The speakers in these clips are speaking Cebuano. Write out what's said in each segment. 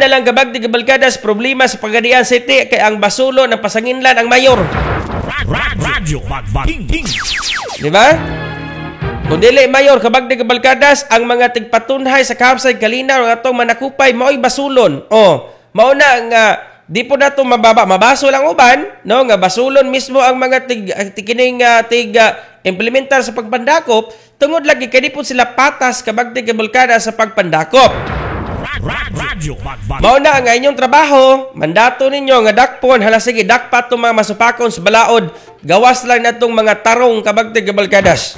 na lang, kabagdi kabalkadas, problema sa Pagadian City kay ang basulo ng pasanginlan ang mayor. Radyo King King. Di ba? Kung dili mayor, kabagdi kabalkadas, ang mga tigpatunhay sa Kaapsay, Kalinaw ang atong manakupay mao'y basulon. Oh, mao na nga di po nato mababa, mabaso lang uban, no, nga basulon mismo ang mga tig kining tig implementar sa pagpandakop tungod lagi kay di po sila patas, kabagdi kabalkada, sa pagpandakop. Radyo Mao na ang inyong trabaho, mandato ninyo nga dakpon, hala sige, dakpa tong mga masupakon sa balaod, gawas lang natong mga tarong, kabagdi kabalkadas.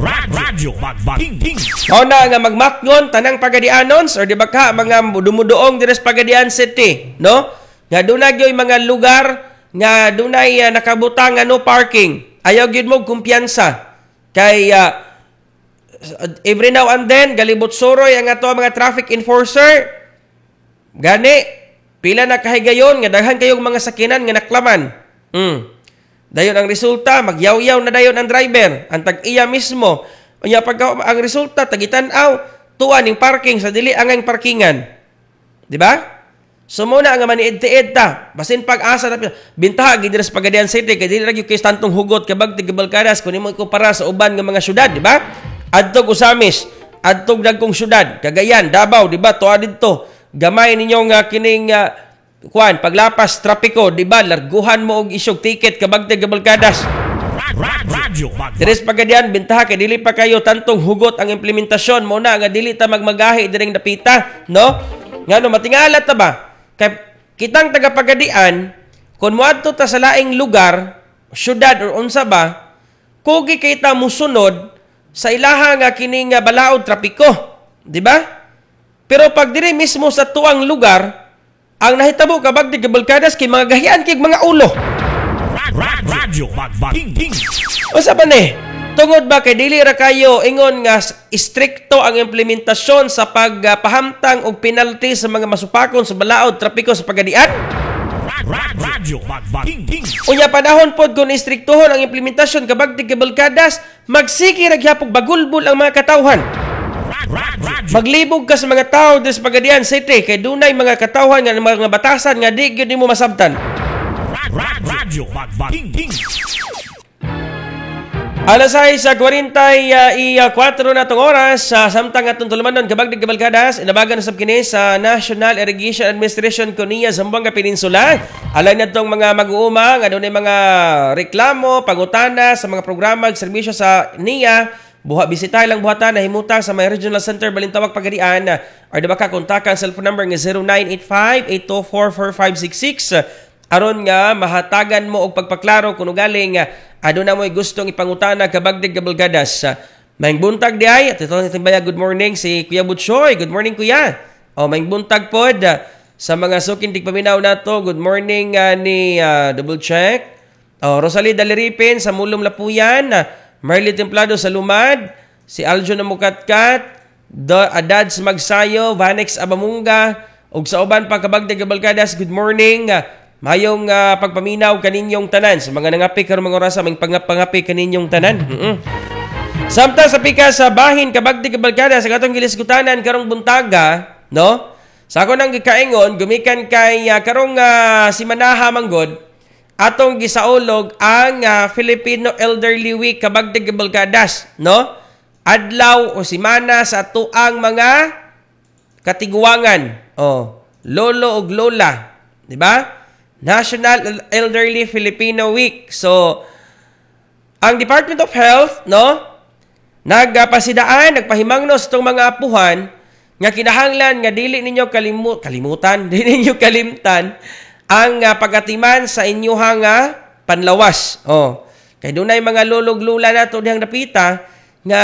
Radyo King King. Mao na nga magmatngon tanang Pagadianons or di ba ka mga dumuduong diri sa Pagadian City, no? Nga dunay gyoy mga lugar nga dunay nakabutang nga no parking. Ayaw gyud mo kumpiyansa kay every now and then galibot suroy ang ato mga traffic enforcer. Gani pila na kahigayon nga daghan kayong mga sakinan nga naklaman. Dayon ang resulta, magyawyaw na dayon ang driver, ang tag-iya mismo. Unya pagka ang resulta tagitan-aw tuwa ning parking sa dili angay parkingan. Di ba? So muna nga maniid-tiid ta. Basin pag-asa na bintaha gid diri sa Pagadian City kay dili ra gyud kay tantong hugot, kabagti kabalkadas, kun imo ikumpara sa uban nga mga syudad, di ba? Adtog Ozamis, adtog dagkong syudad, Cagayan, Davao, di ba? Tuwa didto. Gamay ninyo nga kining kuan paglapas trapiko, di ba? Larguhan mo og isyog ticket, kabagti kabalkadas. Radyo Diri sa Pagadian, bintaha kay dili pa kayo tantong hugot ang implementasyon mo na nga dili ta magmagahi diring dapita, no? Ngano matingala ta ba? Kay kitang taga Pagadian, kung moadto ta sa laing lugar, syudad or unsa ba, kugi kay ta musunod sa ilaha nga kini nga balaod trapiko, di ba? Pero pag diri mismo sa tuang lugar, ang nahitabo, kabagdi kabalkadas, kay mga gahian kay mga ulo. Radyo King King. Unsa ba ni? Tungod ba kay dili ra kayo ingon nga istrikto ang implementasyon sa pagpahamtang og penalty sa mga masupakon sa balaod trapiko sa Pagadian? Radyo King King. Unya panahon pod kung istriktohon ang implementasyon, kabagdi kabalkadas, magsige ra gyapon bagulbol ang mga katawhan. Radyo Maglibog ka sa mga tao diri sa Pagadian City kay dunay mga katawhan nga mga batasan nga di gyud nimo masabtan. Radyo King King. Alas 6:44 na tong oras sa samtang atong tulumanon, kabagdi kabalkadas, inabagan na sab kini sa National Irrigation Administration Kunia Zamboanga Peninsula. Alay na tong mga mag-uuma nga dunay mga reklamo, pangutana sa mga programa ug serbisyo sa NIA. Buha bisita lang buhatan na himutang sa may Regional Center Balintawak Pagadian or di ba ka kontakan cellphone number nga 0985-824-4566 aron nga mahatagan mo og pagpaklaro kung ugaling aduna mo'y gustong ipangutana, kabagdig kabalkadas. Maayong buntag di ay at ito timbaya, good morning si Kuya Butchoy. Good morning, Kuya. O maayong buntag pod sa mga suking tigpaminaw nato. Good morning ni double check. Oh, Rosalie Daliripin sa Mulum Lapuyan, Marley Templado sa Lumad, si Aljo na Mukatkat, Adads Magsayo, Vanex Abamunga, ug sa uban pa, kabagdig kabalkadas, good morning. Mayong pagpaminaw kaninyong tanan sa mga nangapi karong mga orasa, may pangapangapi kaninyong tanan. Samtang sa pika sa bahin, kabagdi kabalkada, sa katong gilisgutanan karong buntaga, no? Sa ako nang gikaingon gumikan kay karong simanaha manggod atong gisaulog ang Filipino Elderly Week, kabagdi kabalkadas, no? Adlaw o simana sa tuang mga katiguangan, oh, lolo ug lola, di ba? National Elderly Filipino Week. So, ang Department of Health, no, nagpasidaan, nagpahimangno sa itong mga apuhan nga kinahanglan nga dili ninyo kalimutan, dili ninyo kalimtan ang pagatiman sa inyuhang panlawas. Oh. Kay dunay mga lolog lula nato dihang dapita nga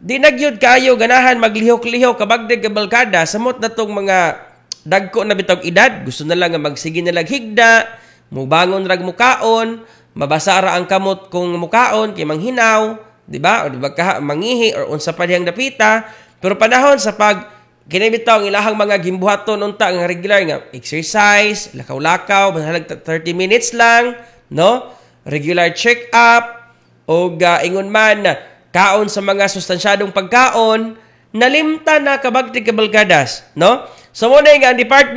di na gyud kaayo ganahan maglihok-lihok, kabagdig kabalkada, samot na tong mga dagko na bitog edad, gusto na lang nga magsige na lang higda, mubangon rag mukaon, mabasa ra ang kamot kung mukaon kay manghinaw, di ba? O di ba ka mangihi or unsa pa dihang dapita. Pero panahon sa pag kini bitaw ang ilahang mga gimbuhaton unta nga regular nga exercise, lakaw-lakaw, bahalag 30 minutes lang, no? Regular check-up o ingon man kaon sa mga sustansyadong pagkaon, nalimtan na, kabagti kabalkadas, no? So mo na nga ang department